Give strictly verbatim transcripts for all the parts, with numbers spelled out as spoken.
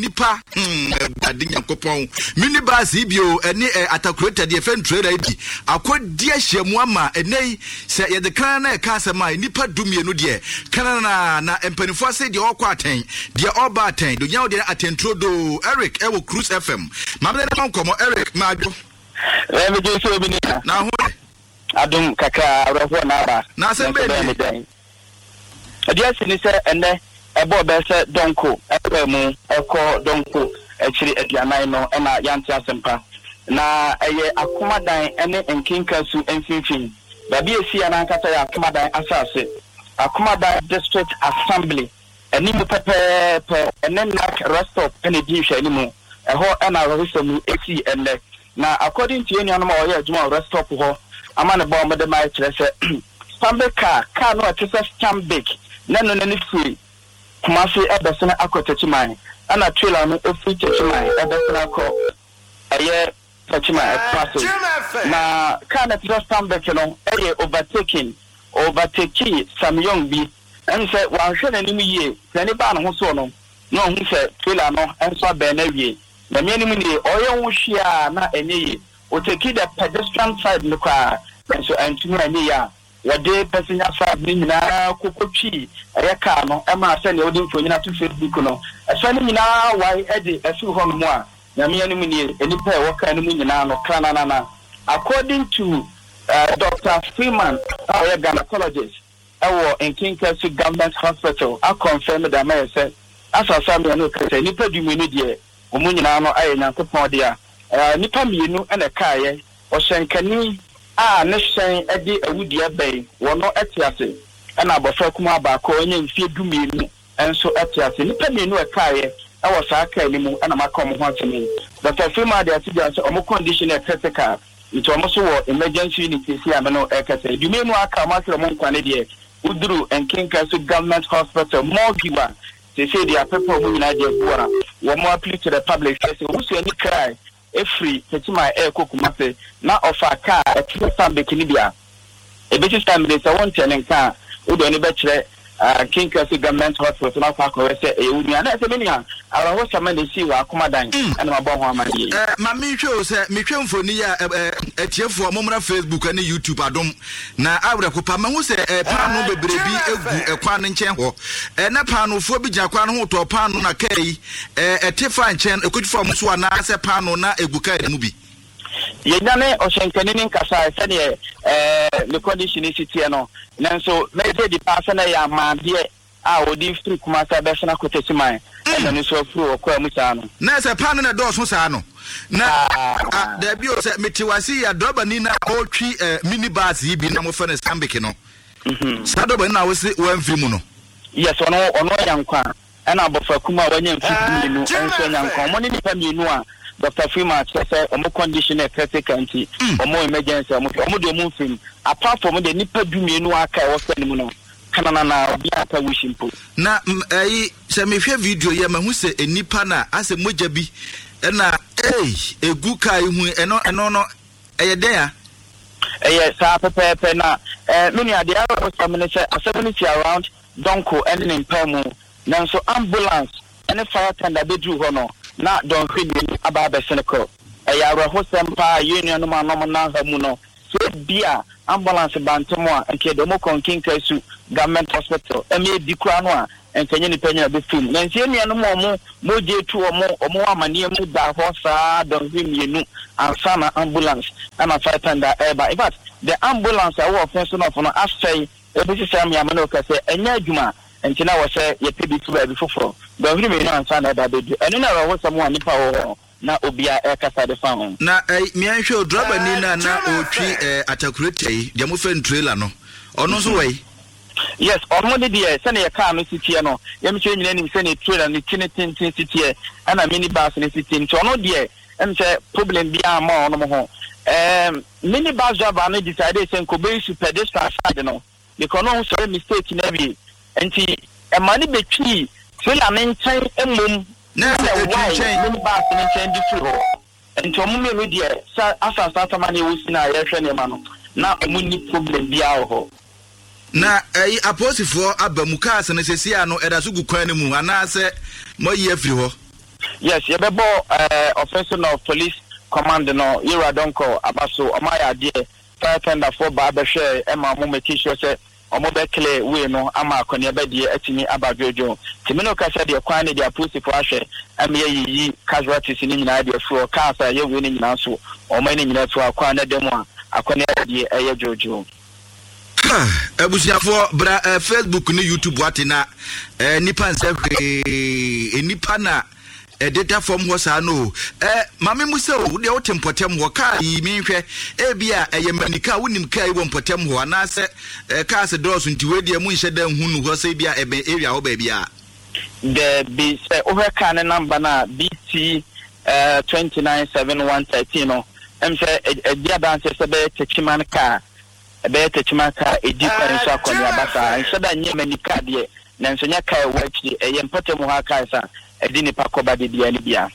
Nipa hmm Awurade Nyankopɔn, mini bus yi bio ɛne ɛ atakuleta deɛ fɛn trailer yi bi akɔdi ahyiamu ama ɛnɛ yi. Sɛ yɛde kan na ɛka asɛm a, nipa du mmienu deɛ kanana na mpanimfoɔ ase deɛ ɔkɔ atɛn, deɛ ɔba atɛn deɛ onya deɛ atɛnturo doo. Eric ɛwɔ Cruise F M, maame ne ma nkɔmɔ. Eric, maadwo. Ɛmɛgye sɛ obi ni. Na ho yɛ? Adom kakra, awerɛhoɔ na aba. Na asɛm bɛɛ ni dɛn? Ɛdeɛ asi ne sɛ ɛnɛ ɛbɔ bɛɛ sɛ dɔnko ɛbɛɛ mu ɛkɔ dɔnko akyiri aduanan no ɛna yɛante asɛmpa na ɛyɛ Akomadan ne Nkenka su mfimfini baabi esi yɛ n'ankasa yɛ Akomadan asase, Akomadan District Assembly anim pɛpɛɛpɛ, ɛne NAC rest stop ɛna edi nhwɛanimu. Ɛhɔ ɛna awerɛhosɛm yi esi ɛnnɛ. Na according to yɛn nuanom a wɔyɛ adwuma wɔ rest stop hɔ ama ne bɔ a wɔde maa kyerɛ sɛ Stanbic car car no a ɛte sɛ Stanbic na ɛno n'ani firi Kumase ɛbɛsene akɔ Takyiman, ɛna trailer no efiri Takyiman ɛbɛsene akɔ ɛyɛ Takyiman ɛkɔ na car no ɛte sɛ Stanbic no ɛyɛ overtaking overtake Samyong bi. Ɛn sɛ wanhwɛ n'anim yie, n'ani baa ne ho soɔ no na ɔhu sɛ trailer no nso abɛn no awie. Na mmea anim nie, ɔyɛ ho hwee a na ɛnyɛ yie. Otake the pedestrian side no koraa nso antumi anyɛ yie a wɔde passenger side no nyinaa koko twii ɛyɛ car no, ɛmaa sɛnea wɔde mfonyin ato Facebook no, ɛfɛ no nyinaa wae ɛde ɛfiri hɔnom a Nyame anim nie, nnipa a ɛwɔ car no mu nyinaa no krananana. According to uh, Doctor Freeman a ɔyɛ gynecologist ɛwɔ Nkinkasu Government Hospital akɔnfɛm de ama yɛ sɛ asasa mmienu kasa nnipa du mmienu deɛ, wɔn nyinaa no ayɛ Nyankopɔn dea. ɛɛ nnipa mmienu ɛna ɛkaeɛ, ɔhyɛnkani a ne hyɛn de awudua bɛn wɔn te ase, ɛna abɔfra kumaa baako a ɔnyɛ mfie du mmienu nso te ase. Nnipa mmienu ɛkaeɛ ɛwɔ saa kaa no mu ɛna maka wɔn ho asɛm yi. Doctor Freeman de ato dwa sɛ wɔn condition yɛ critical, nti wɔn nso wɔ emergency unit esi ame no ɛkɛsɛ. Du mmienu aka wɔn ahwere wɔn nkwa ne deɛ, woduru Nkenka so Government Hospital morgue a sese deɛ apɛpɛ wɔn nyinaa de agu a wɔn appeal to the public sɛ sɛ obusuani kra efiri Techiman ɛɛkɔ Kumase na ɔfa kaa ɛte sɛ Stanbic no bi a ebesi saa mmiri sɛ wɔnkyɛn ne nka a, wode ɔno bɛkyerɛ Kinkasi Government Hospital na akɔ akɔhwɛ sɛ ɛyɛ wo nua na ɛsɛ me nua. Awerɛhosɛm na esi wɔ Akomadan ɛna mabɔ ho ama yie. Ɛ ma mehwɛ o, sɛ mehwɛ mfoni yi a, ɛ atiefoɔ, mommra Facebook ne YouTube Adom na awerɛko pa mahu sɛ ɛ paano bebree bi egu ɛkwan no nkyɛn hɔ. Ɛ na paanofoɔ bi gyina kwan no ho tɔ paano, na kaa yi ɛ ɛte fa nkyɛn ekotwi fa ɔmo so anaasɛ paano na egu kaa mu bi. Yɛnyane ɔhyɛnkani ne nkasa sɛdeɛ ɛɛ ne condition si teɛ no, nanso mɛgye di paa sɛ na ɛyɛ amaadeɛ a wɔde firi Kumase abɛsena kɔ Techiman, ɛna no nso afiri wɔ kwan mu saa no. Na sɛ paano na ɛdɔɔso saa no na a dabi o, sɛ mete wase yi a, dɔbani na ɔretwi ɛ mini bus yi bi na mofɛ no Stanbic no, saa dɔbani na wose wɔamfiri mu no? Yes, ɔno ɔno anya nkwa, ɛna abɔfra kum a wanya mfe mmienu nso anya nkwa. Ɔmo ne nipa mmienu a Doctor Freeman kyerɛ sɛ ɔmo condition yɛ critical, nti ɔmo emergency ɔmo hwɛ ɔmo de ɔmo mfirim. Apart from de nipa du mmienu aka ɛwɔ sɛ ne mu no kanana, obi aka wish mpo. Na ɛyi, sɛ mehwɛ video yi a, mahu sɛ nipa na asɛ mogya bi ɛna ei egu kaa yi ho. ɛno ɛno no ɛyɛ dɛn a? Ɛyɛ saa pɛpɛɛpɛ. Na ɛɛ me nua, deɛ awerɛhosɛm ne sɛ asɛm no si around dɔnko ɛne ne mpaa mu, nanso ambulance ɛne fire tender bɛduru hɔ no na dɔnhwɛ mmienu aba abɛsene kɔ. Ɛyɛ awerɛhosɛm paa. Yɛn nuanom a nom nan ha mu no, sɛ bi a ambulance ba ntɛm a, nka yɛde ɔmo kɔ Nkenka su Government Hospital ɛma ebi koraa no a nka nye nipa nyina bɛfiri mu. Nanso yɛn nuanom a ɔmo mogya etu ɔmo ɔmo wɔ amanneɛ mu da hɔ saa dɔnhwɛ mmienu ansa na ambulance ɛna fire tender ɛreba. In fact, the ambulance a ɛwɔ ɔfɛn so nɔfo no asɛe ebisi sɛ mmeama no kɛ sɛ ɛnyɛ adwuma, nti na wɔ sɛ yɛpɛ bi fi baabi foforɔ dɔnhwere mmienu ansa na ɛba abɛdu. Ɛno na awerɛhosɛm a nipa wɔ hɔ na obiara ɛrekasa de fa ho. Na ɛ miɛnhwɛ o, drɔbani na na ɔretwi ɛ atakuleta yi deɛ mofɛ no trailer no, ɔno nso wɔ yi? Yes, ɔno ne deɛ, sɛnea kaa no si teɛ no, yɛm sɛ nyina nim sɛnea trailer no ti ne tenten si teɛ ɛna mini bus no si teɛ, nti ɔno deɛ ɛm sɛ problem biara ma ɔnom ho. ɛɛm mini bus driver no decide sɛ nkɔbɛyi su pedestrian side no because ɔno sɔrɔ mistake na awie, nti ɛma ne bɛtwii trailer ne nkyɛn mmom. Na sɛ ɛna ɛtwi wae nkyɛn. Mini bus ne nkyɛn de firi hɔ, nti ɔmo mmienu deɛ, sa asasa asama na ɛwɔ si na yɛhwɛ nneɛma no na ɔmo ni problem biara wɔ hɔ. Na ɛyi, apolisifoɔ aba mu, cars no sɛsi a no ɛda so gu kwan no mu anaasɛ moayi afiri hɔ? Yes, yɛbɛbɔ ɛɛ Offinso North Police Command no, Yewura Donkor aba so, ɔmo ayɛ adeɛ. Fire tenderfoɔ baa bɛhwɛ ɛma ɔmo make sure sɛ ɔmo bɛ clear way no ama akɔneaba deɛ atumi aba dwodwo. Nti me ne kasa deɛ, kwan ne deɛ, apolisifoɔ ahwɛ ɛma yɛyiyi casualties no nyinaa deɛ firi hɔ. Cars a ɛyɛ wei no nyinaa nso, ɔmo ne nyinaa firi hɔ. Kwan no da mu a, akɔneaba deɛ ɛyɛ dwodwo. Abusuafoɔ, bra uh, Facebook ne YouTube wate na uh, nipa nsɛ hwee, nipa na ɛdeda fam hɔ saa no. Ɛ maame mu sɛ o, deɛ wote mpɔtɛm hɔ, kaa yi mi nhwɛ, ebi a ɛyɛ manika, wonim kaa yi wɔ mpɔtɛm hɔ anaasɛ ɛ kaa sɛ dɔɔso, nti wei deɛ mu nhyɛ dɛ nhu nu hɔ sɛ ebi a ɛbɛn area hɔ baabi a? Daabi, sɛ wohwɛ kaa ne number no a, B T twenty nine seven one thirteen no, ɛm sɛ ɛdi adanse sɛ bɛyɛ Techiman kaa, ɛbɛyɛ Techiman kaa ɛdi kwan so akɔneaba saa. Nhyɛ da nyɛ manika deɛ, nanso nyɛ kaa ɛwɔ akyiri, ɛyɛ mpɔtɛm hɔ a kaa sa ɛde nipa kɔba de bia ne bia.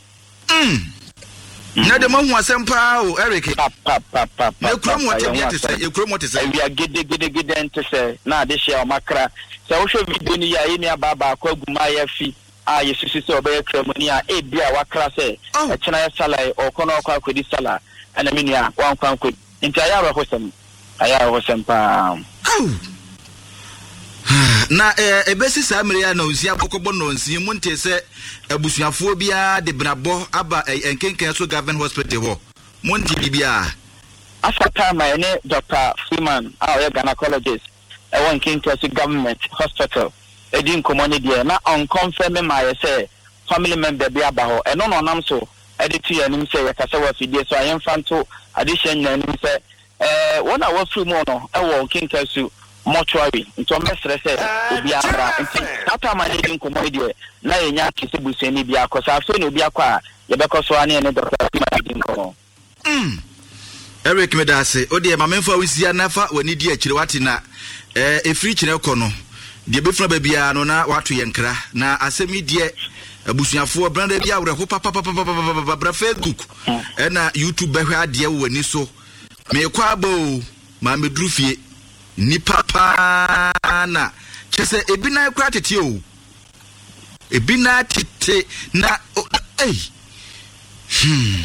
Na de mahu asɛm paa o, Eric. Papapapa. Na ekurom hɔ tebea te sɛ, ekurom hɔ te sɛ? Awia gedegedegede nte sɛ na ade hyɛ ɔmo akra. Sɛ wohwɛ video no yi a, yɛn nua baa baako agu mmaayɛ fi a yɛsusu sɛ ɔbɛyɛ kramoni a ebi a wakra sɛ ɛkyena yɛ sala yi, ɔkɔ na ɔkɔ akɔdi sala, ɛna me nua wankɔ ankɔdi. Nti ayɛ awerɛhosɛm, ayɛ awerɛhosɛm paa. Na ɛbɛsi saa mmere a na nsia bɔkɔbɔ nɔnsia mu, nte sɛ abusuafoɔ biara de brabɔ aba Nkenken so Government Hospital hɔ, monte biribiara? Asa time a ɛne Doctor Freeman a ɔyɛ gynecologist ɛwɔ Nkenken so Government Hospital ɛdi nkɔmmɔ no deɛ, na ɔnkɔmfɛ me maayɛ sɛ family member bi aba hɔ. Ɛno na ɔnam so ɛde to yɛn anim sɛ yɛkasa wɔ afidie so a, yɛmfa nto adehyɛ nyinaa anim sɛ ɛɛ wɔn a wɔafiri mu no ɛwɔ Nkenken so mortuary, nti ɔmbɛsrɛ sɛ obi amra. Nti saa time a yɛdi nkɔmmɔ yi deɛ, na yɛnya ate sɛ busuani bi akɔ. Sɛ afei na obi akɔ a, yɛbɛkɔ so a ne yɛne Doctor Freeman di nkɔmmɔ. Mm. Eric, meda ase. O deɛ, ma memfa wo nsia na fa w'ani di akyire wate. Na ɛɛ ɛfiri kyerɛ kɔ no deɛ, bɛfuna baabiara no na wato yɛn kra. Na asɛm yi deɛ, abusuafoɔ, branda bi awerɛho papapapapapa. Bra Facebook ɛna YouTube bɛhwɛ adeɛ wɔ w'ani so. Meekɔ aba o, maa meduru fie, nipa paa na kyɛ sɛ ebi nan kora tete o, ebi nan tete na ei, hmm.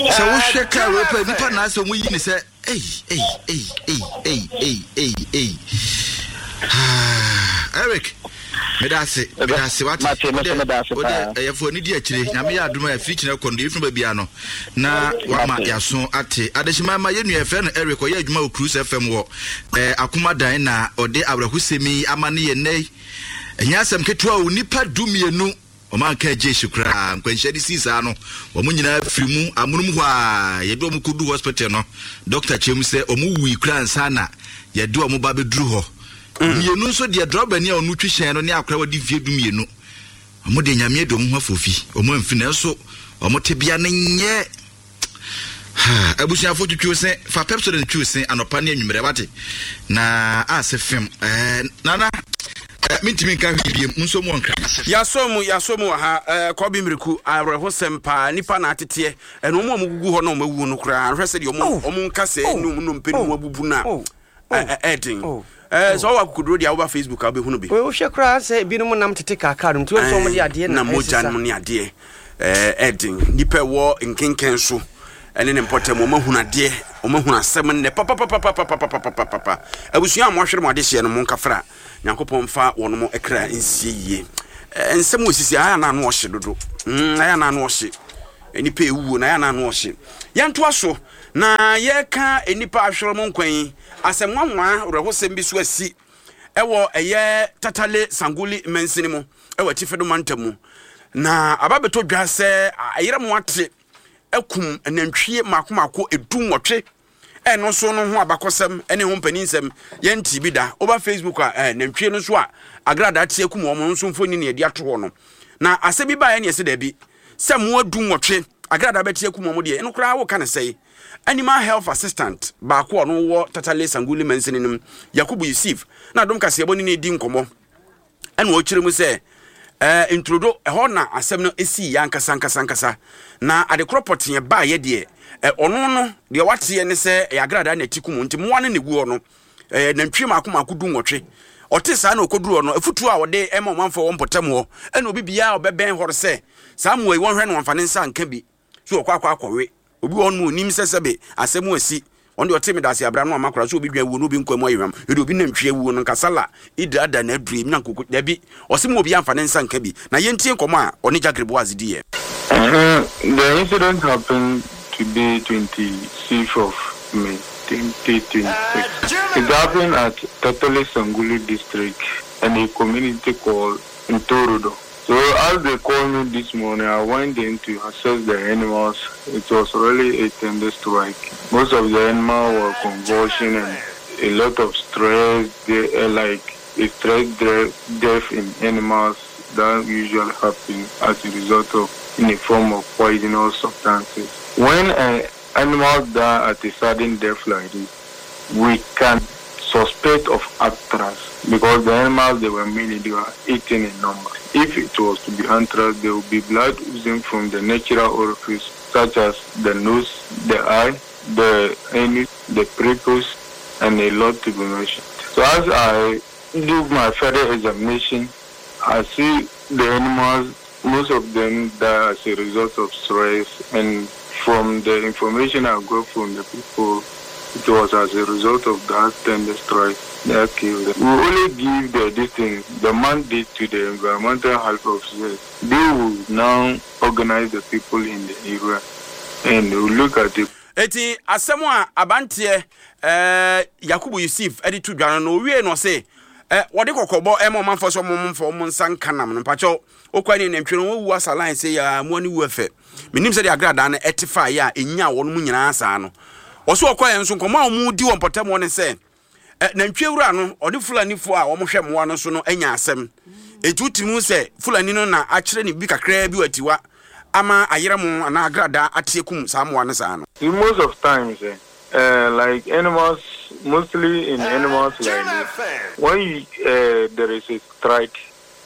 Sɛ wohwɛ kaa wei pɛ, nipa na asɛ wɔn yi ne sɛ ei ei ei ei ei ei ei ei. Eric, meda ase, meda ase wate. Wode wode ɛyɛfo ani di akyire. Nyame yɛ adom a, afiri kyerɛ kɔ no deɛ, ɛfiri baabi no na wama yɛaso ate. Adehyema ma yɛn nua yɛfrɛ no Eric, ɔyɛ adwuma wɔ Cruise F M wɔ ɛɛ Akomadan, na ɔde awerɛhosɛm yi ama ne yɛ nnɛ yi. Ɛnyɛ asɛm ketewa o, nipa du mmienu ɔma nka agye ehyi koraa. Nkwanhyia de sii saa no, wɔn nyinaa firi mu amonom hɔ a yɛde wɔn kɔdu hospital no, doctor kyerɛ mu sɛ wɔn wui koraa nsa na yɛde wɔn ba bɛduru hɔ. Mmienu nso deɛ, drɔbani a ɔno twi hyɛn no ne akora wɔde mfie du mmienu, wɔn deɛ, Nyame de wɔn ho afɔfi, wɔn amfi, nanso wɔn tebea no nyɛ. Abusuafo, twitwiw se, fa Pepsodent twiw se anɔpa ne anwummerɛ wate. Na ase fem ɛɛ nana ɛɛ mintimi nka hwee biem nso mu ɔnkra. Yasɔ mu, yasɔ mu wɔ ha. ɛɛ kɔbi miriku, awerɛhosɛm paa, nipa na ateteɛ ɛna ɔmo a ɔmo gugu hɔ na ɔmo awu no koraa, ahwɛ sɛ deɛ ɔmo ɔmo nkasɛɛ ne ɔmo nnompe ne mu abubu na ɛɛden. ɛɛ sɛ ɔwɔ akokoduro deɛ, woba Facebook a, wobɛhunu bi. Wohwɛ koraa sɛ ebinom nam tete kaakaa no nti, wɔn nso wɔn de adeɛ na mogya nom ne adeɛ ɛɛ ɛɛden. Nipa ɛwɔ Nkenken so ɛne ne mpɔtam, wɔn ahunu adeɛ, wɔn ahunu asɛm nnɛ papapapapapapapapa. Abusua a wɔahwere mo adehyeɛ no, mo nkafra Nyankopɔn mfa wɔn mo kra nsie yie. ɛɛ nsɛm wɔ sisi ayɛ anan no ɔhye dodo, mm ayɛ anan no ɔhye. Nipa ewuo na ayɛ anan no ɔhye. Yɛntoa so na yɛka nipa ahwere mo nkwan yi asɛm nwanwa. Awerɛhosɛm bi so asi ɛwɔ ɛyɛ Tatale Sanguli mansini mu ɛwɔ Atifi do mantam mu, na aba bɛtɔ dwa sɛ ayerɛ mo ate akum nantwie mako mako edu nwɔtwe. Ɛno nso no ho abakɔsɛm ne ho mpaninsɛm yɛnte bi da. Woba Facebook a, ɛɛ nantwie no nso a agradaa te akum wɔn nso mfoni ne yɛde ato hɔ no. Na asɛm bi baeɛ ne yɛsɛ daabi, sɛ mmoa du nwɔtwe agradaa bɛte akum wɔn deɛ, ɛno koraa woka ne sɛe. Animal health assistant baako a ɔno wɔ Tatale Sanguli mansini no mu, Yakubu Yusuf, na Adom Kaseɛbɔ ne ne di nkɔmmɔ, ɛna ɔkyerɛ mu sɛ ɛɛ nturodo ɛhɔ na asɛm no esi yɛ ankasa ankasa ankasa. Na adekorɔ pɔteɛ baayɛ deɛ, ɛ ɔno no deɛ wateɛ ne sɛ ɛyɛ agradaa na ɛti kum, nti mmoa no na egu hɔ no, ɛɛ nantwie mako mako du nwɔtwe. Ɔte saa na ɔkɔduru hɔ no, afutuo a ɔde ɛma ɔmanfoɔ wɔ mpɔtam hɔ ɛna obi biara a ɔbɛbɛn hɔ sɛ Saa mmoa yi wɔnhwɛ no wɔmfa ne nsa nka bi so wɔkɔ akɔ akɔwe. Obi wɔ hɔ nom onim sɛ sɛbe asɛm asi. Ɔno deɛ ɔte me dase abira no ama koraa sɛ obi dwan awuo na obi nkwa mu ayɛ hwam. Ɛde obi nantwie awuo no nka sala idra da na adure na nkoko dabi. Ɔse mo obi amfa ne nsa nka bi. Na yɛntie nkɔmmɔ a ɔne Jagre Boaz diiɛ. The incident happened today, twenty-sixth of May, twenty twenty-six. It happened at Tatale Sanguli district in a community called Ntorodo. So as they called me this morning, I went in to assess the animals. It was really a tender strike. Most of the animals were convulsion and a lot of stress, they, uh, like a stress death in animals that usually happen as a result of in the form of poisonous substances. When an animal dies at a sudden death like this, we can suspect of anthrax because the animals they were many, they were eighteen in number. If it was to be anthrax, there would be blood oozing from the natural orifice such as the nose, the eye, the anus, the prepuce, and a lot to be mentioned. So as I do my further examination, I see the animals, most of them die as a result of stress, and from the information I got from the people, it was as a result of that tender strike that killed them. We only give the this thing, the mandate to the environmental health officers. They will now organize the people in the area and will look at it. Eti asɛm a abanteɛ eh, Yakubu Yusuf de to dwa no no owie no ɔse eh, wɔde kɔkɔbɔ ɛma ɔmanfoɔ sɛ ɔmo mfa ɔmo nsa nka nam no. Mpakyɛw okɔ ne nantwie no wɔwu asa line sɛ ya mmoa no wu ɛfɛ. Menim sɛdeɛ agradaa no ɛte fa yɛ a ɛnya wɔn mu nyinaa saa no. Ɔso ɔkɔ yɛn nso nkɔmɔ a wɔn di wɔ mpɔtam hɔ ne sɛ eh, nantwie wura no ɔne Fulanifoɔ a wɔhwɛ mmoa no so no anya asɛm. Eti wotumi hu sɛ Fulani no na akyerɛ ne bi kakraa bi wɔ atiwa ama ayerɛ mo anaa agradaa ate akum saa mmoa no saa no. Most of times, eh, uh, like animals, mostly in animals like this, when you, uh, there is a strike,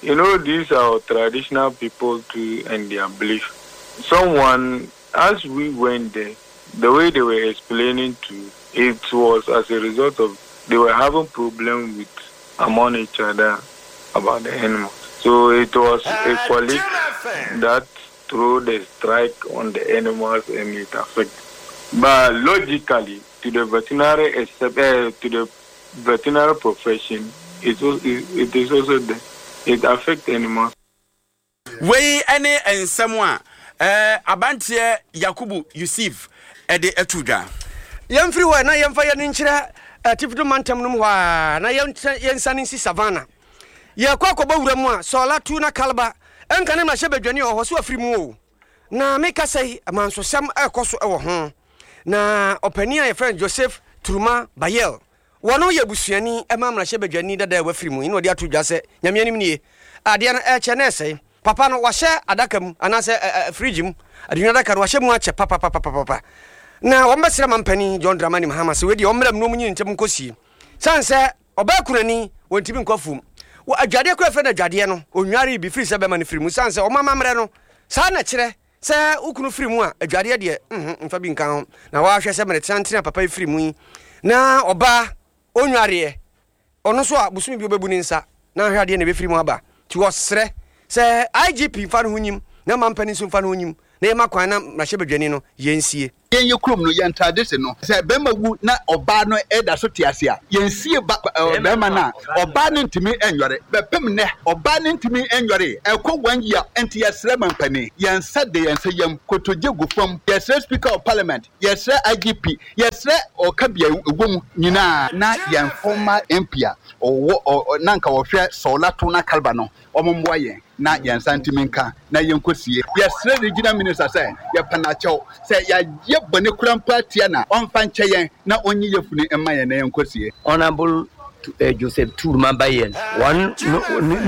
you know, these are traditional people too and their belief. Someone, as we went there, the way they were explaining to, it was as a result of they were having problem with among each other about the animals. So it was a colleague that threw the strike on the animals and it affected. But logically, to the veterinary except, uh, to the veterinary profession, it was, it, it is also there. It affects animals. Wei ne nsɛm a eh, abanteɛ Yakubu Yusuf de ato dwa. Yɛmfiri hɔ na yɛmfa yɛn ani nkyerɛ Atifi mantam no mu hɔ ara na yɛnsiane nsi Savannah. Yɛrekɔ akɔbɔ wura mu a, Sɔla, Tuna, Kalba, nka ne mmarahyɛbadwani a ɔwɔ hɔ so afiri mu o. Na mekasa yi, amansosɛm rekɔ so wɔ ho. Na ɔpanin a yɛfrɛ no Joseph Turuma Bayel, wɔno yɛ busuani ma mmarahyɛbadwani dada a wafiri mu yi na ɔde ato dwa sɛ, Nyame anim nie, adeɛ no ɛrekyɛ na ɛresɛe. Papa no, wahyɛ adaka mu anaasɛ fridge mu, adunwa adaka no, wahyɛ mu akyɛ papapapapapa. Na wɔbɛsrɛ mampanin John Dramani Mahama sɛ wei deɛ ɔmmra mu na ɔmunyi ne ntam nkɔsie. Sane sɛ ɔbaa kunani, wɔntumi nkɔ afuom. Wɔ adwadeɛ koraa frɛ no adwadeɛ no, ɔnwaree bi firi sɛ bɛma no firi mu. Sane sɛ wɔn amammerɛ no, saa na ɛkyerɛ sɛ wo kunu firi mu a, adwadeɛ deɛ, mhm, mfa bi nka ho. Na wɔahwɛ sɛ mmerɛ teantene a papa yi firi mu yi, na ɔbaa ɔnwareɛ, ɔno nso a bosome bi ɔbɛbu ne nsa na ahwɛ adeɛ na ɛbɛfiri mu aba. Nti wɔsrɛ sɛ I G P mfa ne ho nyim na mampanin nso mfa ne ho nyim na yɛma kwan na mmarahyɛbadwani no yɛnsie. Yɛn yɛ kurom no, yɛn tradition no, sɛ bɛrima wu na ɔbaa no da so te ase a, yɛnsie ba bɛrima no a, ɔbaa no ntumi nnware. Bɛpem nnɛ, ɔbaa no ntumi nnwaree, ɛkɔ one year, nti yɛsrɛ mampanin, yɛn nsa de yɛn nsa yam, kotodwe gu fam, yɛsrɛ Speaker of Parliament, yɛsrɛ I G P, yɛsrɛ ɔka bea ɛwɔ mu nyinaa, na yɛn former M P a ɔwɔ na anka ɔhwɛ Sɔɔla Tona Kalba no, wɔn mmoa yɛn na yɛn nsa ntumi nka na yɛnkɔ sie. Yɛsrɛ Regional Minister sɛ yɛpɛ no akyɛw, sɛ yɛayɛ bɔne koraa mpo atia no a, ɔmfa nkyɛ yɛn na ɔnyi yafunu mma yɛn na yɛnkɔ sie. Honourable Joseph Turuma Bayen, wɔn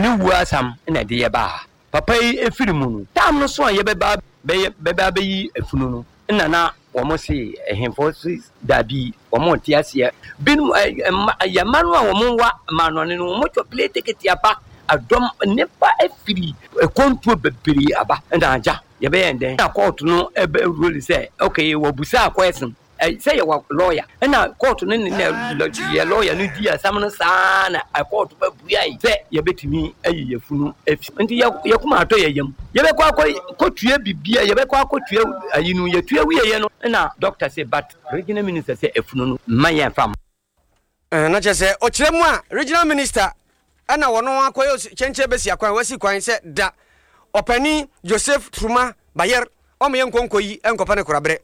ne wuo asam na ɛde yɛ baa ha. Papa yi efiri mu no, tam no so a yɛbɛba bɛba abɛyi efunu no, nna na wɔn se ɛhemfo se daabi, wɔn nte aseɛ. Binom mma yɛn mma no a wɔn wa mmanɔne no, wɔn tɔ plane ticket aba, adɔm nnipa afiri kɔntuo bebree aba. Ɛna agya yɛbɛyɛ ndɛn? Na court no ɛbɛ rule sɛ okay, wɔbusa question. Sɛ yɛwɔ lawyer ɛna court no ne yɛ lawyer no di asɛm no saa na court bɛbuae sɛ yɛbɛtumi ayi yɛn funu afi. Nti yɛ koma atɔ yɛn yam. Yɛbɛkɔ akɔ kɔtua bibia, yɛbɛkɔ akɔtua ayi no, yɛtua wieɛ no na doctor sɛ but regional minister sɛ afunu no mma yɛmfa mma. Na kyerɛ sɛ ɔkyerɛ mu a regional minister ɛna wɔn akɔyɛ kyɛnkyɛn bɛsi akwan wasi kwan sɛ da ɔpanin Joseph Truma Bayer ɔmo yɛ nkonko yi nkɔpɛ ne korabrɛ.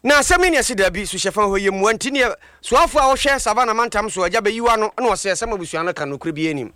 Na asɛm yi ne ɛse daabi suhyɛfa hɔ yɛ mua nti neɛ soafoɔ a ɔhwɛ Savannah mantam so agya bɛyiwa no na ɔse asɛm abusua no ka nokorɛ biara nnim.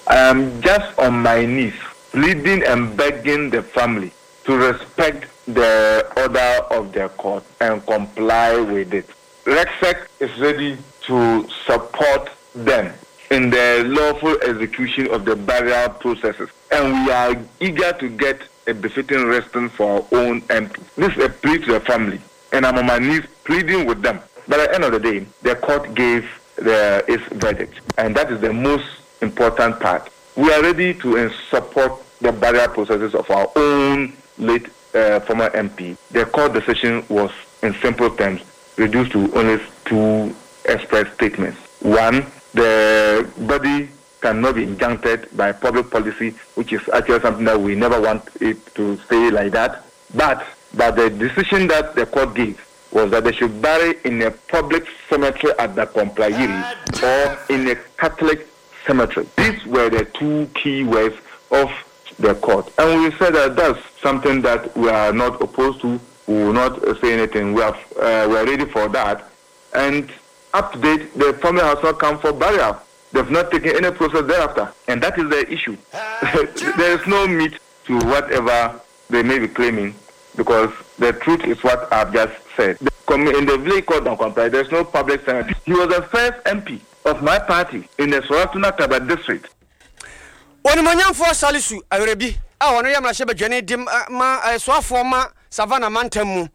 I am just on my knees pleading and begging the family to respect the order of the court and comply with it. REGSEC is ready to support them in the lawful execution of the burial processes, and we are eager to get a befitting resting for our own M P. This is a plea to the family, and I'm on my knees pleading with them. But at the end of the day, the court gave the, its verdict, and that is the most important part. We are ready to support the burial processes of our own late, uh, former M P. The court decision was, in simple terms, reduced to only two express statements. One, the body cannot be injuncted by public policy, which is actually something that we never want it to stay like that. But, but the decision that the court gave was that they should bury in a public cemetery at the Komplayiri or in a Catholic cemetery. These were the two key words of the court. And we said that that's something that we are not opposed to. We will not say anything. We, have, uh, we are ready for that. And up to date, the family has not come for burial. They've not taken any process thereafter. And that is the issue. There is no meat to whatever they may be claiming, because the truth is what I've just said. In the village called Dankompai, there's no public cemetery. He was the first M P of my party in the Sawla Tuna Kalba district. Onimonyamfo Salisu Awerebi a ono yɛ mmarahyɛ badwani de ma soafoɔ ma Savannah mantam mu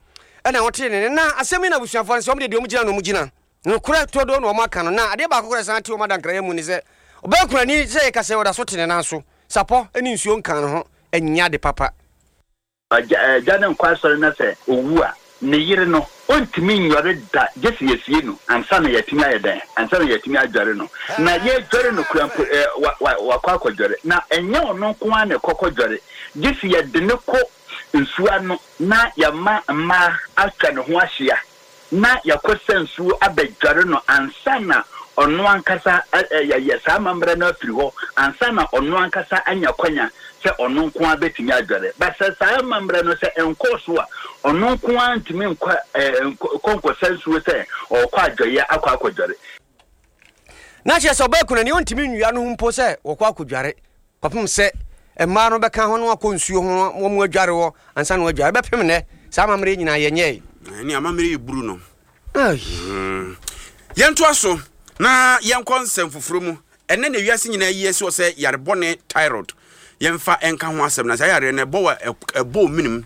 ɛna wɔte ne na asɛm yi na abusuafoɔ no sɛ wɔn de deɛ wɔn gyina na wɔn gyina nokorɛ todo na wɔn aka no na adeɛ baako koraa san te wɔn adankrayɛ mu ne sɛ ɔbɛyɛ kunani sɛ yɛka sɛ ɔda so te ne nan so sapɔ ne nsuo nka ne ho ɛnyɛ ade papa. Agya ne nkɔ asɔre na sɛ owu a ne yere no ontumi nyɔre da gye sɛ yɛsie no ansa na yɛatumi ayɛ dɛn ansa na yɛatumi adware no na yɛdware no kura mpo wakɔ akɔdware na ɛnyɛ ɔno nko ara na ɛkɔkɔ dware gye sɛ yɛde ne kɔ nsuo ano na yɛma mmaa atwa ne ho ahyia na yɛkɔ sɛ nsuo abɛdware no ansa na ɔno ankasa yɛyɛ saa amammerɛ no afiri hɔ ansa na ɔno ankasa anya kwanya sɛ ɔno nko ara bɛtumi adware ba sɛ saa amammerɛ no sɛ ɛnkɔɔ so a ɔno nko ara ntumi nkɔ nkɔ nkɔsa nsuo sɛ ɔkɔ adwaeɛ akɔ akɔdware. Na kyerɛ sɛ ɔbɛɛ kunani ɔntumi nnua no ho mpo sɛ wɔkɔ akɔdware kɔpem sɛ mmaa no bɛka ho no akɔ nsuo ho wɔn mu adware hɔ ansa na wɔadware bɛpem nnɛ saa amammerɛ nyinaa yɛnyɛe. Ɛne amammerɛ yɛ buru no. Yɛntoa so na yɛnkɔ nsɛm foforɔ mu. Ɛnɛ na wiase nyinaa yi asi hɔ sɛ yarebɔne thyroid yɛmfa ɛnka ho asɛm na saa yareɛ no ɛbɔ wɔ ɛbɔ ominim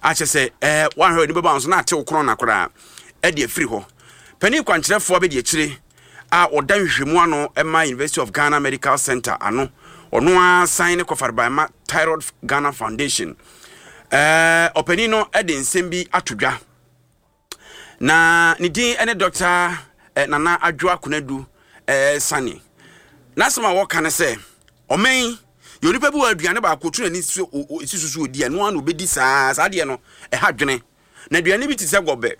akyɛ sɛ ɛɛ wanhwɛ w'ani bɛba nso na ate wo korɔn na koraa ɛde afiri hɔ. Panin kwankyerɛfoɔ abɛdi akyire a ɔda nhwehwɛmu ano ɛma University of Ghana Medical Center ano ɔno ara san ne kɔfareban ma Thyroid Ghana Foundation. Ɛɛ ɔpanin no ɛde nsɛm bi ato dwa na ne din ɛne Doctor Nana Adwoa Konadu Sani. N'asɛm a wɔka ne sɛ ɔman yɛ onipa bi wɔ aduane baako tu n'ani so esi so so odi ɛno ara na obedi saa saa adeɛ no ɛha dwene na aduane bi te sɛ gɔbɛ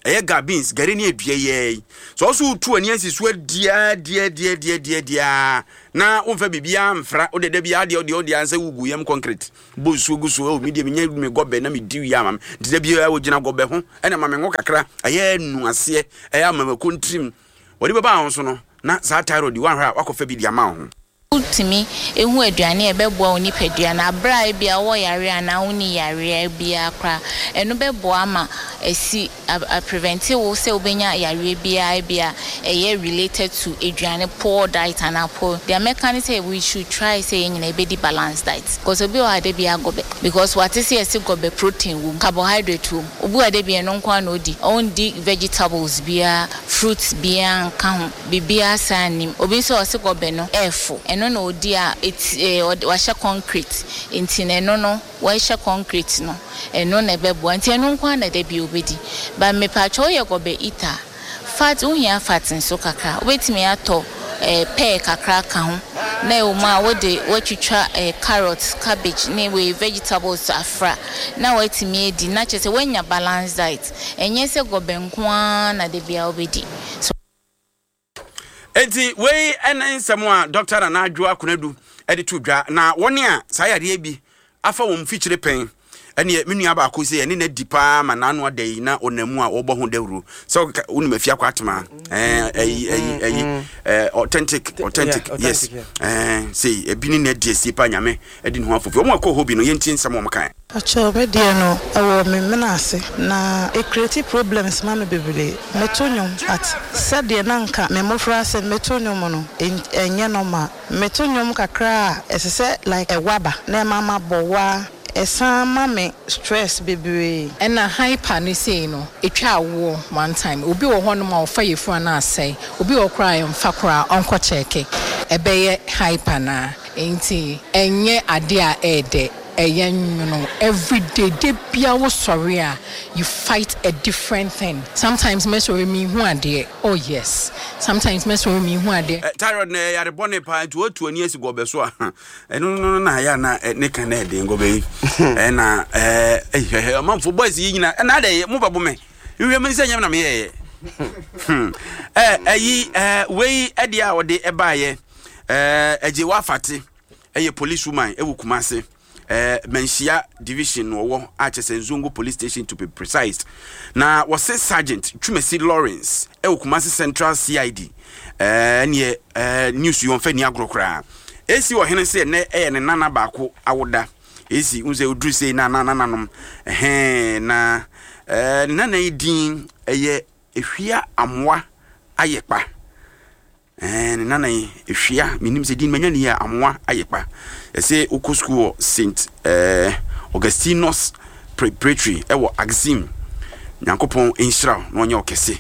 ɛyɛ ga beans gari ne adua yɛ yi sɛ ɔso tu ani asi so adia dia dia dia dia dia na womfa biribiara mfra wode da biara deɛ deɛ deɛ ansɛ wugu yam concrete bɔ nsuo gu so ɛwɔ mi deɛ menya me gɔbɛ na medi wie ama me nti da biara wogyina gɔbɛ ho ɛna ma me ngo kakra ɛyɛ nu aseɛ ɛyɛ ama mako ntirim wɔde bɛba ho so no na saa thyroid wanhwɛ a wakɔfa bi de ama ho. Wotumi ehu aduane a ɛbɛboa wo nipadua na abere a ebia wowɔ yare anaa wonni yareɛ biara koraa ɛno bɛboa ama esi a prevent wo sɛ wobɛnya yareɛ biara ebia ɛyɛ related to aduane poor diet anaa poor deɛ mɛka ne sɛ we should try sɛ yɛn nyinaa yɛbɛdi balanced diet because obi wɔ ha de bia gɔbɛ because wate sɛ yɛse gɔbɛ protein wɔ mu carbohydrate wɔ mu obi wɔ ha de bia ɛno nko ara na odi ɔndi vegetables biara fruits biara nka ho biribiara saa nnim obi nso a ɔse gɔbɛ no ɛɛfo ɛno na odi a eti ɛɛ wahyɛ concrete nti na ɛno no wɔahyɛ concrete no Ɛno na ɛbɛboa. Nti ɛno nko ara na da bi wobɛdi. But mepatwɔ woyɛ gɔbɛ eater a, fat, wohia fat nso kakra. Wobɛtumi atɔ eh, pear kakra aka ho. Na ɛwɔ mu a wode woatwitwa eh, carrot, cabbage ne wei vegetables afra na woatumi adi. Na kyerɛ sɛ woanya balanced diet. Ɛnyɛ sɛ gɔbɛ nko ara na da biara wobɛdi. So Enti wei ne nsɛm a Dɔkta Nana Adwoa Konadu de to dwa. Na wɔn a saa yareɛ bi afa wɔn mfikyire pɛn ɛneɛ me nua baako sɛ ɛne na di paa ma n'ano ada yi na ɔnam mu a wɔbɔ ho dawuro sɛ wonim afie akɔ atema ɛyi ɛyi ɛyi authentic authentic yes ɛɛ sei ebi ne na adi asie paa Nyame ɛde ne ho afofi wɔn a ɛkɔ hɔ bi no yɛntie nsɛm wɔn kae. Pakyɛw me deɛ no ɛwɔ me mena ase na e create problems ma me bebree me to nwom but sɛdeɛ na nka me mmofra ase no me to nwom no ɛnyɛ normal me to nwom kakra a ɛsɛ sɛ like ɛwa ba na ɛma ma bɔ wa ɛsan ma me stress bebree. Ɛna hyper no sei no ɛtwa awoɔ one time obi wɔ hɔ nom a ɔfa yafunu a na asɛe obi wɔ hɔ koraa a ɛmfa koraa ɔnkɔ kyɛɛke ɛbɛyɛ hyper no a nti ɛnyɛ adeɛ a ɛɛdɛ ɛyɛ nwono everyday da biara wo sɔre a you fight a different thing sometimes mɛsɔre menhu adeɛ oh yes sometimes mɛsɔre menhu adeɛ. Thyroid no ɛyɛ yare bɔne paa nti woatu ani asi gɔbɛ so a ɛno no na ayɛ na ne ka na ɛden gɔbɛ yi ɛna ɛɛ ɔmanfo boys yi nyina ɛna adɛ mo bɛbo me nhwɛ me sɛ nyɛ na meyɛɛyɛ ɛɛ ɛyi ɛɛ wei ɛdeɛ a wɔde ɛbaayɛ ɛɛ ɛgye wafate ɛyɛ police woman ɛwɔ Kumase ɛɛ Manhyia division na ɔwɔ a kyɛ sɛ Nzongo police station to be precise na wɔse sergeant Twumasi Lawrence ɛwɔ Kumase Central C I D ɛɛ neɛ ɛɛ news yi wɔn fɛ ni agorɔ koraa esi ɔhene sɛ ɛnɛ ɛyɛ ne nana baako awoda esi n sɛ oduru sei na na nananom ɛhɛn na ɛɛ ne nana yi din ɛyɛ Ehwia Amoa Ayekpa. Ɛɛ ne nana yi Ehwia menim sɛ din manya ne yie a Amoa Ayekpa. Ɛsɛ wokɔ sukuu wɔ Saint ɛɛ Augustinus Preparatory ɛwɔ Axim. Nyankopɔn nhyira wo na ɔnyɛ wo kɛse.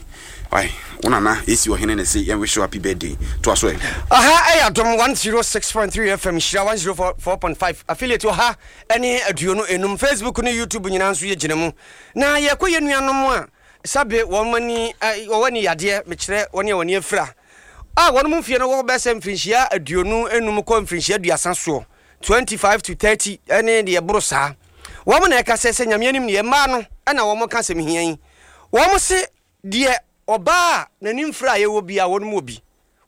Wai, wo nana esi ɔhene na ɛsɛ yɛn wish you happy birthday. Toa so ɛ. Aha ɛyɛ Adom one zero six point three F M, Nhyira one zero four point five affiliate ɔha ne aduonu enum, Facebook ne YouTube nyinaa nso yɛgyina mu. Na yɛkɔ yɛn nuanom a sɛbe wɔn ani wɔwɔ ani yadeɛ, mekyerɛ wɔn a wɔn ani afira, a wɔn mu mfie no wɔ bɛyɛ sɛ mfirinhyia aduonu enum kɔ mfirinhyia aduasa soɔ, twenty-five to thirty ne deɛ ɛboro saa. Wɔn na ɛka sɛ sɛ Nyame anim deɛ mmaa no na wɔn ka asɛm hia yi. Wɔn se deɛ ɔbaa a n'ani mfira a yɛwɔ bi a wɔn mu wɔ bi,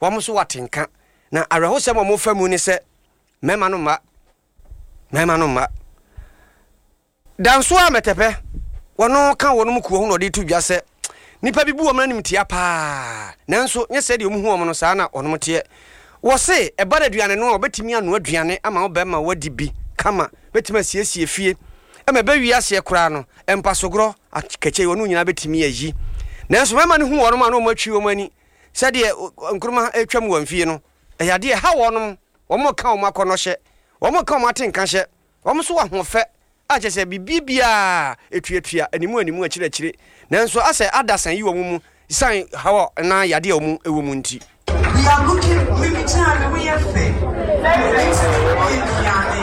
wɔn nso wɔ atenka. Na awerɛhosɛm a wɔfa mu ne sɛ mmarima no mma, mmarima no mma. Danso a mɛtɛpɛ, wɔn ka wɔn mu kuo ho na ɔde to dwa sɛ nnipa bi bu wɔn animtia paa, nanso nyɛ sɛdeɛ wɔn hu wɔn no saa na wɔn teɛ. Wɔse ɛba no aduane no a, wɔbɛtumi anoa aduane ama wo bɛrima wadi bi kama, bɛtumi asiesie fie ma ɛbɛwie aseɛ koraa no, mpasogorɔ, akakyei, wɔn nyinaa bɛtumi ayi. Nanso mmarima no hu wɔn a na wɔn atwi wɔn ani sɛdeɛ nkruma retwam wɔn fie no, ɛyɛ adeɛ ɛha wɔn, wɔn ka wɔn akɔnnɔ hyɛ, wɔn ka wɔn atenka hyɛ, wɔn nso wɔ ahoɔfɛ a kyerɛ sɛ biribiara etuatua animu animu akyiri akyire, nanso asɛ adasa yi wɔn mu siane haw anaa yadeɛ a wɔn wɔ mu nti. We are looking, me me gyina me ho yɛ fɛ, me tumi yɛ aduane,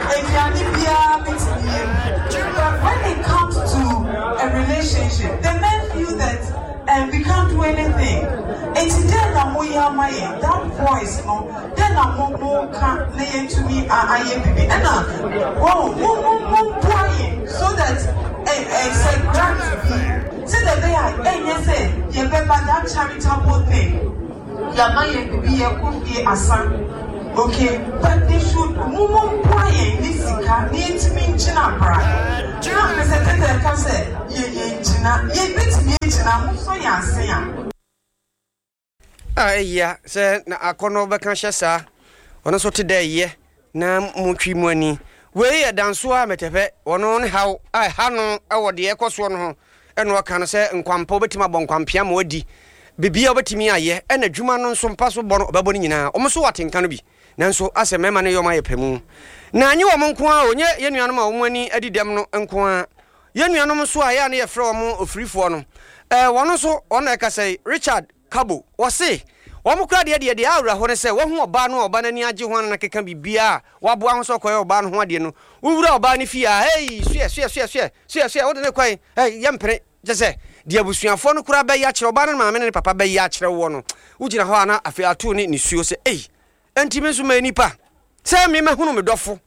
aduane biara me tumi yɛ bi, but when it comes to a relationship, the men feel that um, we can't do anything. Enti dɛn na mo yɛ ama yɛn, that voice no, dɛn na mo mo ka na yɛntumi ayɛ bibi, ɛna wɔn mo mo mo boa yɛn so that ɛ ɛ sɛ grant bi sɛdeɛ ɛbɛyɛ a ɛnyɛ sɛ yɛbɛba that charitable thing, yɛama yɛn bibi, yɛkɔ fie asa, okay, but they should mo mo boa yɛn ne sika na yɛntumi ngyina bra na pɛ sɛ tɛtɛ ka sɛ yɛ yɛngyina, yɛbɛtumi agyina mo sɔ yɛn ase a. A ɛyia sɛ na akɔnnɔ bɛka hyɛ saa, ɔno nso te dɛ ɛyɛ na motwi mu ani. Wei yɛ danso a mɛtɛpɛ ɔno ne haw a ɛha no wɔ deɛ ɛkɔ soɔ no ho, ɛna ɔka no sɛ nkwampa wobɛtumi abɔ nkwampea ma wadi biribiara wobɛtumi ayɛ, ɛna adwuma no nso mpa so bɔ no ɔbɛbɔ no nyinaa, wɔn nso wɔ atenka no bi, nanso asɛ mmarima no yɛ wɔn ayɛ pɛ mu. Na nye wɔn nko ara o, nye yɛn nuanom a wɔn ani adi dɛm no nko ara, yɛn nuanom nso a yɛ a ne yɛfrɛ wɔn ofirifoɔ no, ɛɛ wɔn nso wɔn na ɛkasa yi. Richard Kabo, wɔse Wɔn koraa deɛ deɛ deɛ awerɛho ne sɛ wahu ɔbaa no a ɔbaa no ani agye ho ana keka biribiara a waboa ho sɛ ɔkɔyɛ ɔbaa no ho adeɛ no, wowura ɔbaa no fie a, hei, suɛ suɛ suɛ suɛ suɛ suɛ, wode ne kwan, hei, yɛmpene. Kyɛ sɛ deɛ abusuafoɔ no koraa bɛyɛ akyerɛ ɔbaa no ne maame ne ne papa bɛyɛ akyerɛ woɔ no, wogyina hɔ a na afei ato ne nisuo sɛ, ei, enti me nso mɛyɛ nipa sɛ me mahunu me dɔfo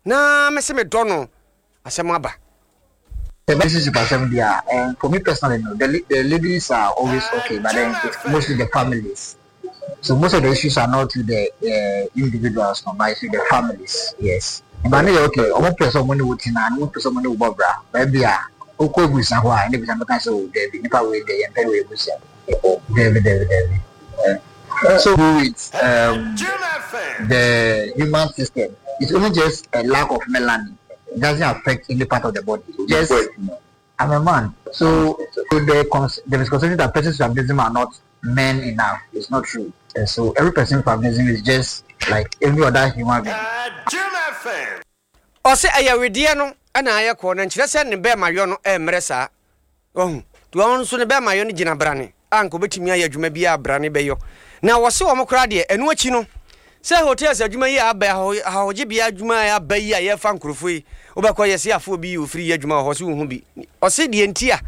na mese medɔ no, asɛm aba. The relationship asɛm deɛ a, and for me personally no, the the ladies are always okay, but then it's mostly the families. So most of the issues are not with the uh, individuals, no, but it's with the families. Yes. But no, okay, ɔmo pɛ sɛ ɔmo ne wo tena, ɔmo pɛ sɛ ɔmo ne wo bɔ bra. Baabi a wokɔ ebusua hɔ a, ɛna ebusua bɛka sɛ o dɛbi nipa wei deɛ yɛn pɛ wɔ ebusua. Dɛbi dɛbi dɛbi. So with um, the human system, it's only just a lack of melanin. It doesn't affect any part of the body. Just I'm a man. So, so the cons- the misconception that persons with albinism are not men enough is not true. And so every person with albinism is just like every other human being. Ɔsɛ ɛyɛ wedeɛ no ɛna ayɛ kɔɔ na nkyerɛ sɛ ne bɛɛma yɔ no ɛmmerɛ saa. Wahu? Nti ɔno nso ne bɛɛma yɔ no gyina brane a nka ɔbɛtumi ayɛ adwuma biara a brane bɛyɔ. Na wɔse wɔn koraa deɛ ɛno akyi no sɛ hotels adwuma yi a aba yi, ahɔhogyebea adwuma a aba yi a yɛfa nkurɔfoɔ yi, wobɛkɔ yɛse afa obi yi ofiri yɛ adwuma wɔ hɔ, ɔse wonhu bi. Ɔse deɛ nti a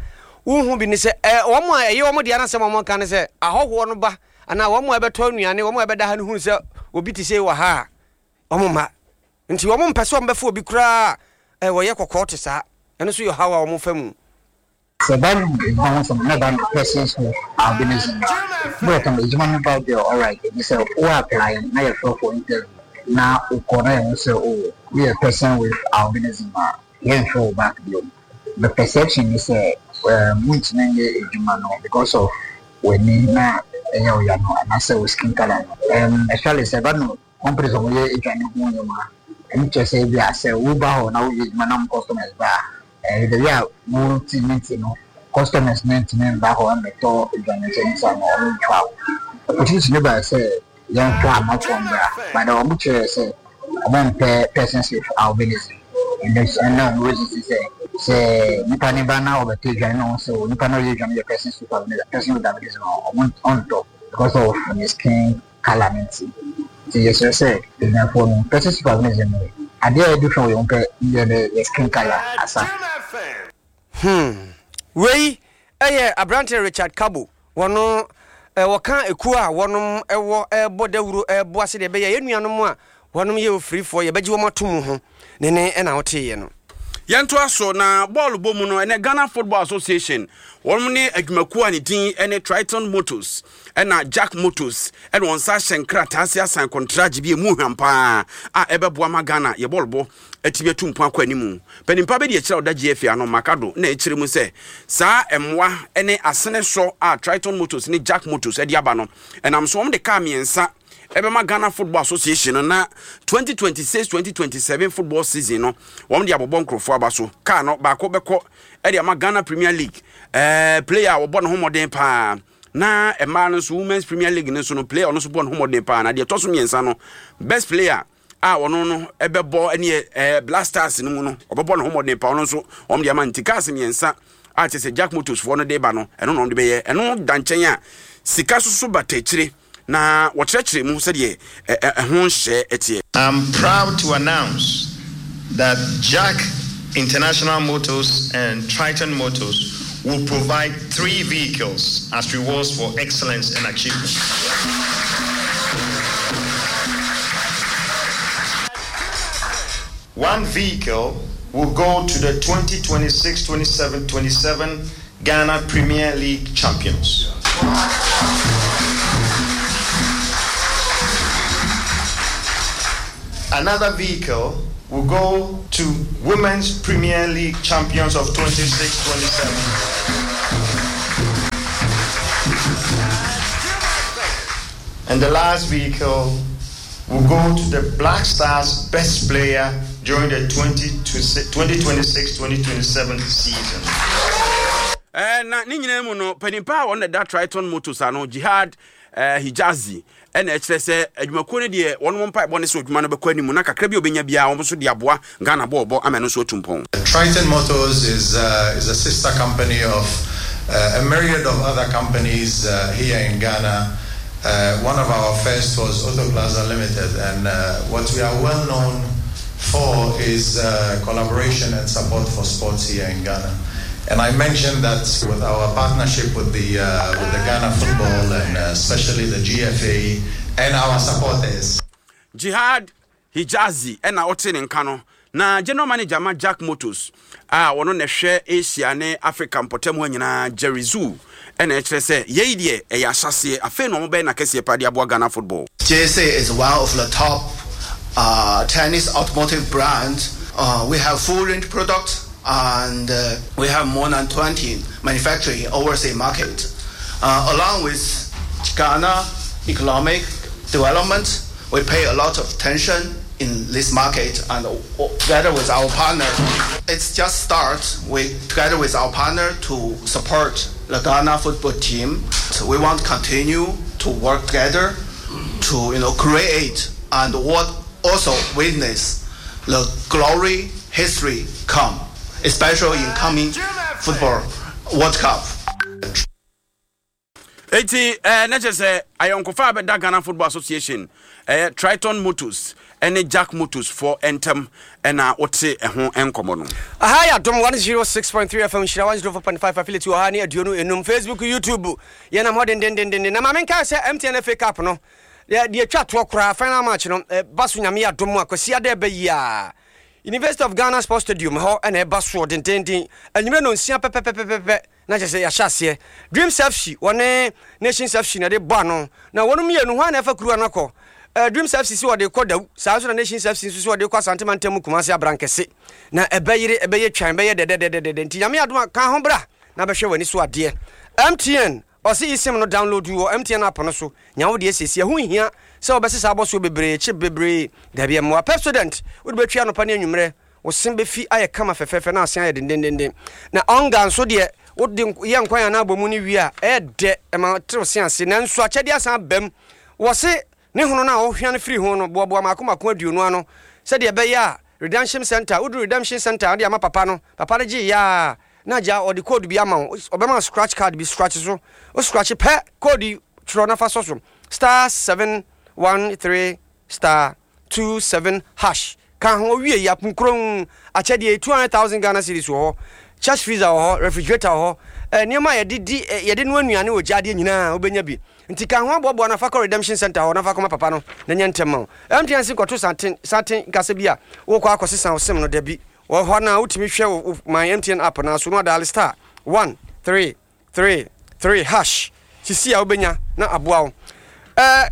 wonhu bi ne sɛ ɛ, wɔn a ɛyɛ wɔn dea no asɛm a wɔka ne sɛ ahɔhoɔ no ba anaa wɔn a ɛbɛtɔ nnuane, wɔn a ɛbɛda ha no hunu sɛ obi te sei wɔ ha a, wɔn mma. Nti wɔn mpɛ sɛ wɔbɛfa obi koraa a wɔyɛ kɔkɔɔ te saa. Ɛno nso yɛ ɔhaw a wɔfa mu. Sɛ ɛba no edwuma ho asɛm a, na ɛba no persons with albinism a, na wɔka no edwuma no ba deɛ alright, enti sɛ wo apply na yɛfrɛ wo for interview na wokɔ na yɛhu sɛ oh woyɛ person with albinism a, yɛmfrɛ wo back bio. The perception ne sɛ um wontumi nyɛ edwuma no because of w'ani na ɛyɛ wo ya no anaasɛ wo skin colour no. Um especially sɛ ɛba no Companies a wɔyɛ aduane ho nneɛma, ɛno kyerɛ sɛ ebia sɛ woba hɔ na woyɛ adwuma na mo customers ba a, ɛɛ the way a wo te ne nti no, customers no ntumi mba hɔ mmɛtɔ aduane nti ɛno saa no wɔn mfa wo. Opportunity no bae sɛ yɛmfa amanfoɔ mbra, but wɔn kyerɛɛ sɛ wɔn mpɛ persons with albinism. Ɛno ɛna wɔn resist sɛ sɛ nipa no ba na ɔbɛtɔ aduane na wɔn sɛ o nipa no a ɔyɛ aduane yɛ persons with albinism, person with albinism a wɔn ɔntɔ because of ne skin colour no ntsi. Ntsi yɛserɛ sɛ ebusuafoɔ no, pɛ sɛ supervision no, adeɛ a yɛde hwɛ wɔ yɛn ho pɛ yɛ dɛ yɛ skin colour asa. Hmm. Wei yɛ aberanteɛ Richard Kabo. Wɔno wɔka ekuo a wɔnom wɔ rebɔ dawuro reboa sɛdeɛ ɛbɛyɛ a yɛn nuanom a wɔnom yɛ ofirifoɔ yɛbɛgye wɔn ato mu ho ne ne na woteeɛ no. Yɛntoa so na bɔɔlo bɔ mu no, ɛnɛ Ghana Football Association wɔn ne adwumakuo a ne din ne Triton Motors ɛna Jack Motors ɛna wɔn nsa ahyɛ nkrataa ase asan kɔntragye bi emu hwam paa a ɛbɛboa ma Ghana yɛ bɔɔlo bɔ atumi atu mpɔn akɔ anim. Panimpa bɛdi akyire a ɔda G F A ano Makado na ɛkyerɛ mu sɛ saa mmoa ne asene sɔ a Triton Motors ne Jack Motors de aba no ɛnam so wɔn de kaa mmiɛnsa ɛbɛma Ghana Football Association no na twenty twenty-six twenty twenty-seven football season no wɔn de abobɔ nkurɔfoɔ aba so. Kaa no baako bɛkɔ ɛde ama Ghana Premier League ɛɛ player a wɔbɔ ne ho mmɔden paa, na mmaa no nso Women's Premier League no nso no player ɔno nso bɔ ne ho mmɔden paa, na deɛ ɛtɔ so mmiɛnsa no, best player a ɔno no ɛbɛbɔ ɛne ɛɛ Black Stars no mu no ɔbɛbɔ ne ho mmɔden paa, ɔno nso wɔn de ama. Nti cars mmiɛnsa a kyerɛ sɛ Jack Motors foɔ no de ba no, ɛno na wɔn de bɛyɛ. Ɛno da nkyɛn a sika soso bata akyire na wɔkyerɛkyerɛ mu sɛdeɛ ɛho nhyɛ ɛteɛ. I'm proud to announce that Jack International Motors and Triton Motors will provide three vehicles as rewards for excellence and achievement. One vehicle will go to the twenty twenty-six twenty-seven twenty-seven Ghana Premier League champions. Another vehicle will go to Women's Premier League champions of twenty-six twenty-seven. And the last vehicle will go to the Black Stars best player during the twenty twenty-six twenty twenty-seven season. Eh, na ne nyinaa mu no, panimpa a wɔn da Triton Motors ano, Jihad eh, Hijazi, ɛna ɛkyerɛ sɛ adwumakuo no deɛ wɔn mpaebɔ ne sɛ adwuma no bɛkɔ anim na kakra bi a obɛnya biara wɔn nso de aboa Ghana bɔɔbɔ ama ɛno nso atu mpɔn. Triton Motors is, uh, is a sister company of uh, a myriad of other companies uh, here in Ghana. Uh, one of our first was Auto Plaza Limited, and uh, what we are well known for is uh, collaboration and support for sports here in Ghana. And I mentioned that with our partnership with the, uh, with the Ghana football and uh, especially the G F A and our supporters. Jihad Hijazi ɛna ɔte ne nka no, na general manager ma Jack Motors a wɔno na ɛhwɛ Asia ne Africa mpɔtam hɔ nyinaa, Jerry Zoo, ɛna ɛkyerɛ sɛ yɛyi deɛ ɛyɛ ahyɛseɛ, afei na ɔmo bɛyɛ n'akɛseɛ pa de aboa Ghana football. J A C is one of the top uh, Chinese automotive brands. Uh, we have full range products and uh, we have more than twenty manufacturing overseas market. Uh, along with Ghana economic development, we pay a lot of attention in this market and together with our partner. It's just start. We together with our partner to support the Ghana football team. So we want to continue to work together to you know create and what also witness the glory history come, especially in coming football World Cup. Eti ɛɛ ne kyerɛ sɛ ayɔnkofa a bɛda Ghana Football Association, ɛyɛ Triton Motors ɛne Jack Motors foɔ ntɛm ɛna wote ɛho nkɔmɔ no. Aha yɛ Adom one oh six point three F M, Nhyira one oh four point five affiliate wɔ ha ne aduonu enum, Facebook, YouTube, yɛnam hɔ dendendenden. Na maame nka sɛ M T N F A Cup no deɛ deɛ twa toɔ koraa, final match no ba so. Nyame yɛ adom a, Kwasi ada ɛbɛ yi a, University of Ghana Sports Stadium hɔ ɛna ɛba soɔ dendenden anwummerɛ no nsia pɛpɛpɛpɛpɛ, na kyerɛ sɛ yɛahyɛ aseɛ. Dreams F C wɔne Nations F C na ɛde bɔ ano, na wɔn mmienu hɔ a na ɛfa kuruwa no akɔ. uh, Dreams F C si wɔde kɔ Dawu, saa nso na Nations F C nso si wɔde kɔ Asante mantam Kumase Abrankɛse, na ɛbɛyere, ɛbɛyɛ twan, ɛbɛyɛ dɛdɛdɛdɛdɛ. Nti Nyame adom a, ka ho bra na bɛhwɛ w'ani so adeɛ. M T N ɔse eSIM no, download wɔ M T N app no so. Nya wo deɛ siesie, ɛho nhia sɛ wɔbɛsesa abɔsoɔ bebree, chip bebree, dabi. Ɛmmoa. Pepsodent, wode bɛtwi anɔpa ne anwummerɛ, wo se bɛfi ayɛ kama fɛfɛɛfɛ na ase ayɛ dendendenden. Na ɔnga nso deɛ, wode yɛ nkwan anaa abɔ mu no wie a, ɛyɛ dɛ, ɛma terew se ase. Nanso akyɛdeɛ asan bam wɔ se ne hono no a wohwea no firi ho no, boaboa maako maako aduonu ano sɛdeɛ ɛbɛyɛ a redemption center, woduru redemption center, wode ama papa no, papa no gye yɛ a, na agya ɔde code bi ama wo. Ɔbɛma scratch card bi, scratch so, wo scratch pɛ, code yi twerɛ na fa sɔ so, star seven one three star two seven hash. Ka ho owie yi aponkuron akyɛdeɛ two hundred thousand Ghana cedis wɔ hɔ, chest freezer wɔ hɔ, refrigerator wɔ hɔ, eh, nneɛma a yɛde di eh, yɛde noa nnuane wɔ gyadeɛ nyinaa wobɛnya bi. Nti ka ho aboaboa na fa kɔ redemption center hɔ na fa kɔma papa no na nyɛ ntɛm ma wo. M T N se kɔto santen santen nkasa bi a wokɔ akɔsesa wo SIM no, dabi. Wɔ hɔ na wotumi hwɛ wo my M T N app na so no adial star one three three three hash sisi a wobɛnya na aboa wo. Eh,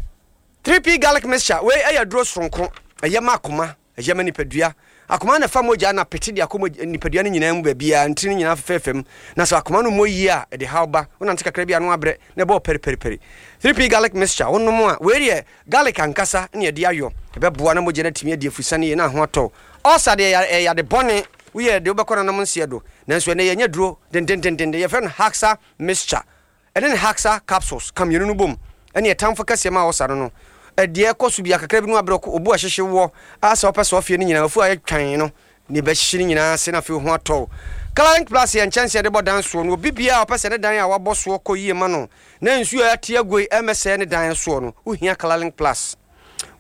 three P garlic mixture wei ɛyɛ aduro soronko, ɛyɛ ma akoma, ɛyɛ ma nipadua. Akoma na fa mogya na pete de akɔ nipadua no nyinaa mu baabiara, ntiri no nyinaa fɛfɛɛfɛ mu. Na sɛ akoma no mmɔ yie a, ɛde haw ba. Wonante kakra bi a no abrɛ na ɛbɔɔ pɛripɛripɛri. three P garlic mixture wonom a, wei deɛ garlic ankasa ne yɛde ayɔ, ɛbɛboa na mogya no atumi adi afusane yie na ho atɔ. Ɔsa deɛ, ɛyɛ ade bɔne, woyɛ de wobɛkɔ nanom nseɛ do. Nanso ɛnɛ yɛnyɛ duro dendendenden, yɛfrɛ no Haxa mixture ɛne ne Haxa capsules ka mmienu no bom, ɛne ɛtamfo kɛseɛ ma ɔsa no no ɛdeɛ ɛkɔ so bi akakra bi no abrɛ obu ahyehye wɔ asɛ wopɛ sɛ ɔfie no nyinaa afu ayɛ twan no ne bɛhyehye no nyinaa ase na afei ho atɔ. Coloring Plus yɛ nkyɛnse yɛde bɔ dan soɔ no. Obi biara a ɔpɛ sɛ ne dan a wabɔ soɔ kɔ yie ma no na nsuo a ate agoe ɛmɛsɛɛ ne dan soɔ no, wohia Coloring Plus.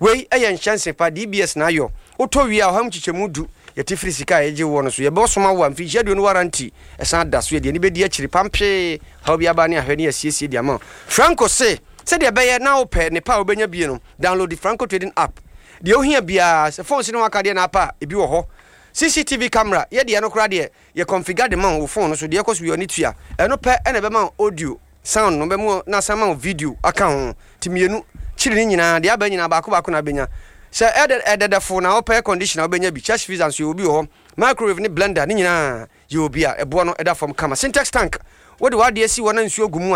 Wei ɛyɛ nkyɛnse pa, D B S na ayɔ. Wotɔ wie a, ɔha mu kyekyɛmu du yɛte firi sika a yɛgye woɔ no so. Yɛbɛsoma wo a mfirihyia aduonu warranty ɛsan da so, yɛde ani bɛdi akyiri pampee, haw bi aba ne ahwɛ ne yɛasiesie de ama wo. Franco se sɛdeɛ ɛbɛyɛ na wopɛ ne pa a wobɛnya bie no, download the Franco Trading app. Deɛ wohia biara, sɛ phone si ne ho akadeɛ na apa a, ebi wɔ hɔ, C C T V camera, yɛdeɛ no koraa deɛ yɛ configure de ma wo phone no so, deɛ ɛkɔ so yɛ ɔne tua ɛno pɛ ɛna ɛbɛma wo audio sound no bɛmu na asan ma wo video aka ho. Nti mmienu kyiri ne nyinaa deɛ aba nyinaa baako baako na abɛnya. Sɛ ɛdɛ ɛdɛdɛfo na wopɛ air condition a, wobɛnya bi. Chest freezer nso yɛ obi wɔ hɔ, microwave ne blender ne nyinaa yɛ obi a ɛboɔ no ɛda fam kama. Sintex tank, wode w'adeɛ si hɔ na nsuo gu mu.